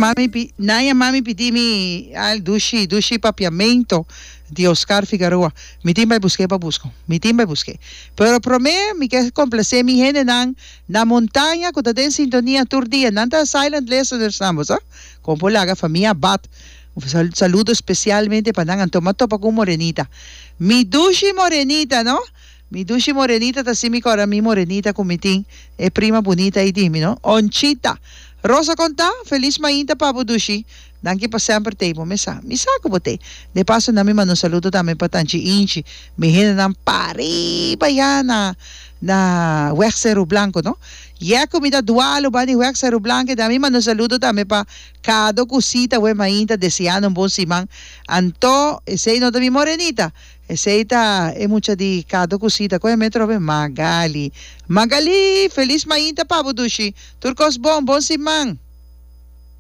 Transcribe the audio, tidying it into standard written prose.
yama mi pi, nan yama mi pidi mi al dushi, dushi papiamento di Oscar Figaroa. Mi tin bai busk'é pa busko. Mi tin bai busk'é. Pero promé mi ke komplasé mi hendenan na montaña ku ta den sintonia tur dia. Nan ta silent listeners nan, bo sa. Kon por laga famia Abat. Un saludo spesialmente pa nan. Anto m'a topa ku un morenita. Mi dushi morenita, no? Mi dushi morenita ta si mi kòrda mi morenita ku mi tin e prima bunita ei di mi no Onchita Rosa kon ta? Felis mainta pa bo dushi Danki pa semper tei bo mesa mi sa ku bo tei De paso nan mi manda un saludo tambe pa Tanchi Inchi mi hendenan pariba ya na na Weg Seru Blanco no Yè ku mi ta dualu ban di Weg Seru Blanco dan mi manda un saludo tambe pa Kado ku Sita we mainta deseando un bon siman anto esei no ta mi morenita Esey ta e mucha di Kado ku Sita koe metro be Magali. Magali! Felis mainta pa bo dushi. Tur kos bon, bon siman.